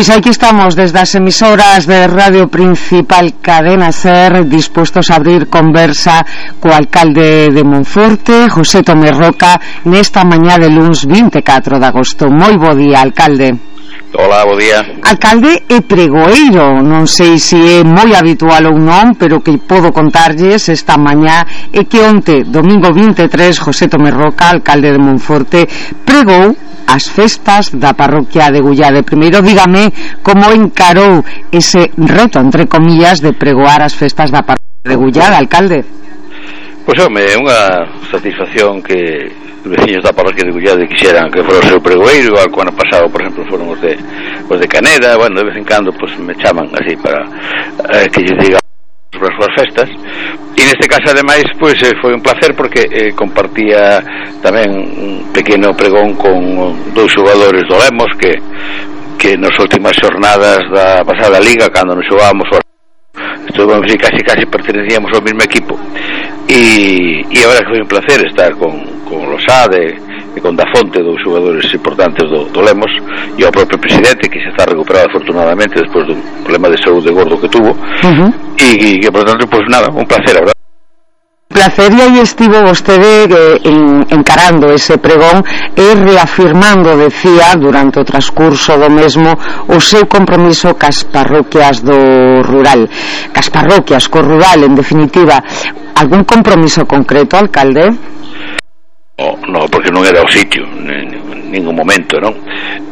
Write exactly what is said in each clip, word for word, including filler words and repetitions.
Pois aquí estamos desde as emisoras de Radio Principal Cadena Ser, dispostos a abrir conversa co alcalde de Monforte, José Tomé Roca, nesta mañá de luns vinte e catro de agosto. Moi bo día, alcalde. Hola, bo día. Alcalde e pregoeiro, non sei se é moi habitual ou non, pero que podo contarlles esta mañá é que onte, domingo vinte e tres, José Tomé Roca, alcalde de Monforte, pregou as festas da parroquia de Gullade. Primeiro, dígame como encarou ese reto, entre comillas, de pregoar as festas da parroquia de Gullade, alcalde. Pois, home, é unha satisfacción que os veciños da parroquia de Gullade quixeran que fora o seu pregoeiro, igual que o ano pasado, por exemplo, foron os de, os de Caneda. Bueno, de vez en cando pues, me chaman así para eh, que lles diga sobre as súas festas, e neste caso ademais pois eh, foi un placer porque eh, compartía tamén un pequeno pregón con dous xogadores do Lemos que que nas últimas xornadas da pasada liga, cando nos xogábamos estuvamos así, casi casi pertenecíamos ao mesmo equipo, e, e agora que foi un placer estar con, con Losade e con Dafonte, dos xogadores importantes do, do Lemos, e ao propio presidente que se está recuperado afortunadamente despois dun problema de saúde gordo que tuvo. Uh-huh. e, e que por tanto, pues nada, un placer, a verdad. Placer, e aí estivo vostede eh, en, encarando ese pregón e reafirmando, decía, durante o transcurso do mesmo, o seu compromiso cas parroquias do rural, cas parroquias co rural, en definitiva. Algún compromiso concreto, alcalde? No, no, porque non era o sitio en ningún momento, non?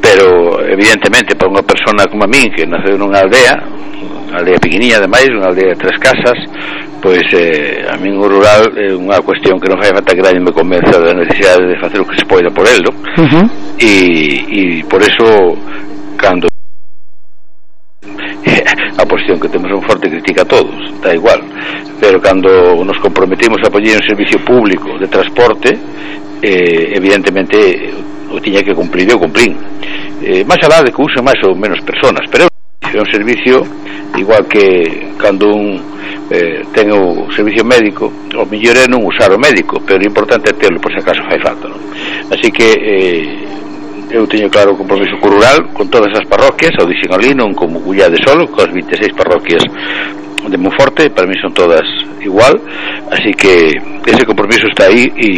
Pero evidentemente para unha persona como a min que naceu nunha aldea, unha aldea pequeniña ademais, unha aldea de tres casas, pois eh, a min o rural é unha cuestión que non fai falta que nadie me convenza da necesidade de facer o que se poida por el, non? Uh-huh. e, e por eso cando a posición que temos un forte critica a todos, está igual, pero cando nos comprometimos a poñer un servicio público de transporte, eh, evidentemente o tiña que cumplir e o cumplín, eh, máis alá de que use máis ou menos personas, pero é un servicio igual que cando un eh, ten o servicio médico, o mellor é non usar o médico, pero o importante é terlo por se acaso fai falta, non? Así que eh, eu teño claro o compromiso co rural con todas as parroquias, ao dixen ali, non como Gullade solo, coas vinte e seis parroquias de Monforte, para mí son todas igual, así que ese compromiso está aí, e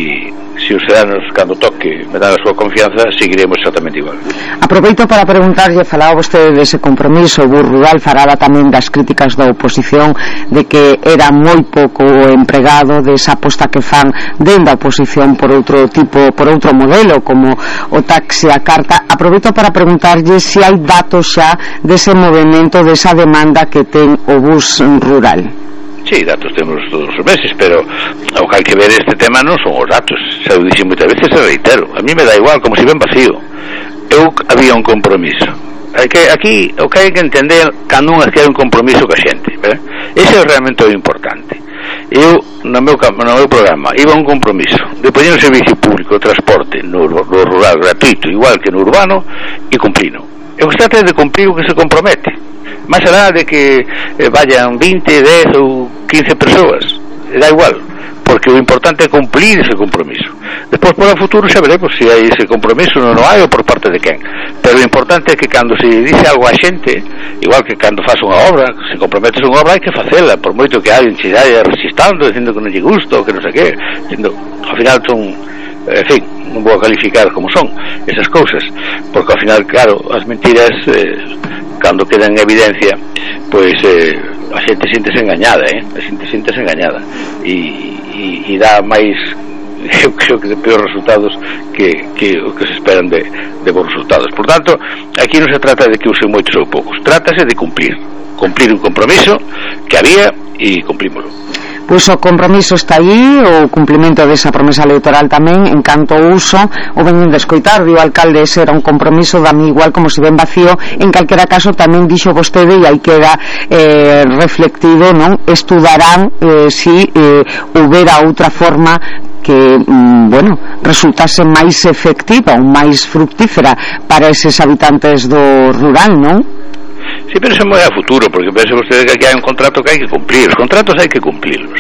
se os ciudadanos cando toque me dan a súa confianza, seguiremos exactamente igual. Aproveito para preguntarlle, falaba vostede dese compromiso, o rural faraba tamén das críticas da oposición de que era moi pouco empregado, desa aposta que fan dende a oposición por outro tipo, por outro modelo como o taxi a carta. Aproveito para preguntarlle se hai datos xa dese movimento, desa demanda que ten o bus rural. Sí, datos temos todos os meses, pero o que hai que ver este tema non son os datos, xa o dixen moitas veces, se reitero, a mí me dá igual, como se ven vacío. Eu había un compromiso. Hai que, aquí o que hai que entender cando un adquire un compromiso ca xente, ¿verdad? Ese é realmente o importante. Eu, no meu, no meu programa, iba un compromiso de poñer un servicio público de transporte no, no rural gratuito, igual que no urbano, e cumplino. Eu que se trata de cumplir o que se compromete, máis alá de que eh, vayan vinte, dez ou quince persoas, dá igual, porque o importante é cumplir ese compromiso. Despois, por o futuro, xa veremos se hai ese compromiso, non o hai, ou por parte de quen, pero o importante é que cando se dice algo a xente, igual que cando faz unha obra, se comprometes unha obra hai que facela, por moito que alguén se vai resistando, dicindo que non lle gusta ou que non sei que, dicindo, ao final son, en fin, non vou a calificar como son esas cousas, porque ao final, claro, as mentiras eh, cando quedan en evidencia, pois eh, a xente siéntese engañada, eh? a xente siéntese engañada, e, e, e dá máis, eu creo que de peores resultados que, que o que se esperan de, de bons resultados. Por tanto, aquí non se trata de que usen moitos ou poucos, trátase de cumplir cumplir un compromiso que había e cumprímolo. Pois o compromiso está aí, o cumplimento desa promesa electoral tamén, en canto ao uso, o veñen de escoitar, o alcalde, ese era un compromiso, dame igual como se ven vacío, en calquera caso tamén dixo vostede, e aí queda eh, reflectido, non? Estudarán eh, si eh, houbera outra forma que, mm, bueno, resultase máis efectiva ou máis fructífera para eses habitantes do rural, non? Sí, pero eso é moi a futuro, porque pense vostede que aquí hai un contrato que hai que cumplir, os contratos hai que cumplirlos.